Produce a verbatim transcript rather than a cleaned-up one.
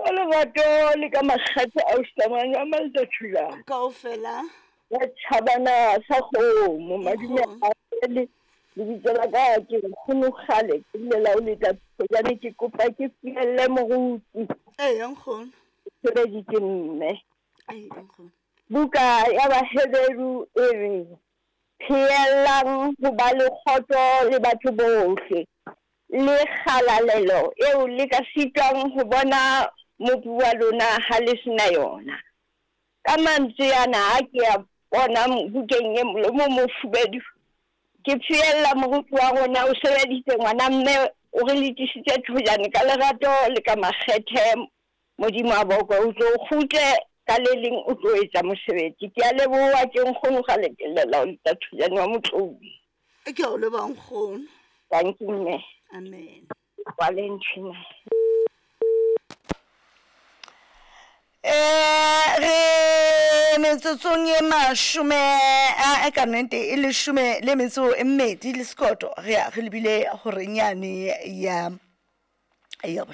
Ka lerato le ka makgethe a usamang a maltathulana. Kaofela. Ya tjhabana sa kgomo madume a le lebitso la ka ke nkgono kgale ke llela o leta thojane ke kopa ke fielle moruti. Eya nkgono. Sebeditse mme. Eya nkgono. Buka ya Baheberu e re pheellang ho ba le kgotso le batho bohle le kgalalelo eo le ka sitwang ho bona Mopi wa lona ha le sena yona. Ka mantswe ana a ke a bona bukeng e molomo o mofubedu, ke pheella moruti wa rona o sebeditse ngwana mme o re letisitse thojane ka lerato le ka makgethe. Modimo a bokwe o tlo kgutle ka le leng o tlo etsa mosebetsi. Ke a leboha ke nkgono ga le ke llela o leta thojane wa Motloung. Ke a o leboha nkgono. Thank you mme. Amen. Valentina. Eh re metsotsong ye mashome a ka nnete e leshome le metso e mmedi le sekoto re ya re lebile horeng yane ya ya